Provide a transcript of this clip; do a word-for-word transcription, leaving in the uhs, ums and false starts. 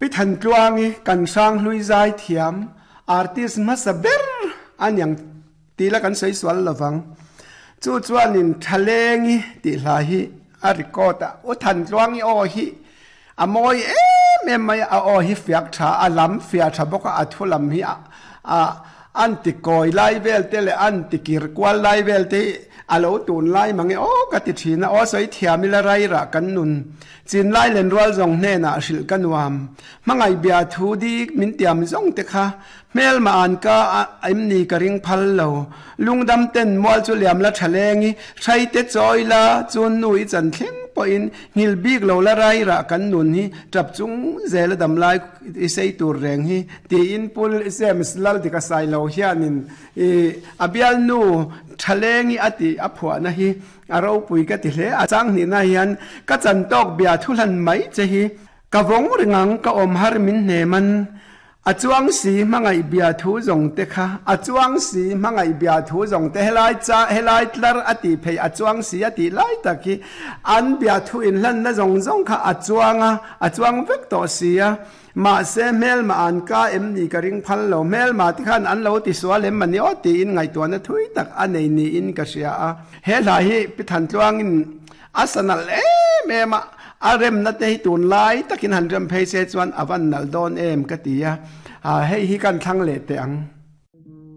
Pi Thantluangi kan hranghlui zai thiam artist hmasa ber aniang tih la kan sawi sual lovang. Chu chuanin Thalengi tih hla hi a record a, U Thantluangi aw hi a mawi em em mai a, a aw hi fiak tha, a lam fiah tha bawk a, a thu lam hi a an ti kawi lai vel te leh an ti kir kual lai vel te hi a lo tun lai mang e aw ka ti thin a, aw sawi thiam ila rairah kan nun chin lai len rual zawng hnenah hrilh ka nuam. Hmangaih bia thu dik min tiam zawng te kha hmelma an ka em ni ka ring phal lo. Lungdam ten mual chu liam la tha leng i, hrai te chawi la chun nu i chan thleng pawhin nghil bik lo la rairah kan nun hi tap chung zel a dam lai i sei tur reng hi tiin Pu James Laldika Sailo hianin i a bialnu tha leng i a tih a phuahna hi a ropui ka ti hle. A chang hnihna hian ka chan tawk bia thu hlan mai che hi ka vawng ring ang, ka awm har min hnem an. A chuang si hmangaih bia thu zawng te kha, a chuang si hmangaih bia thu zawng te, helai cha, helai tlar a tih phei a chuang si a tih lai tak hi an bia thu inhlanna zawng zawng kha a chuang a, a chuang vek tawh si a. Mahse hmelma an ka em ni ka ring phal lo, hmelma te khan an lo ti sual em ani aw tiin ngaihtuahna thui tak a nei niin ka hria a. He hla hi Pi Thantluangin a sa nalh em em a, a remna te hi tunlai takin han rem phei se chuan a van nalh dawn em ka ti a, hei hi kan thlang leh teh ang.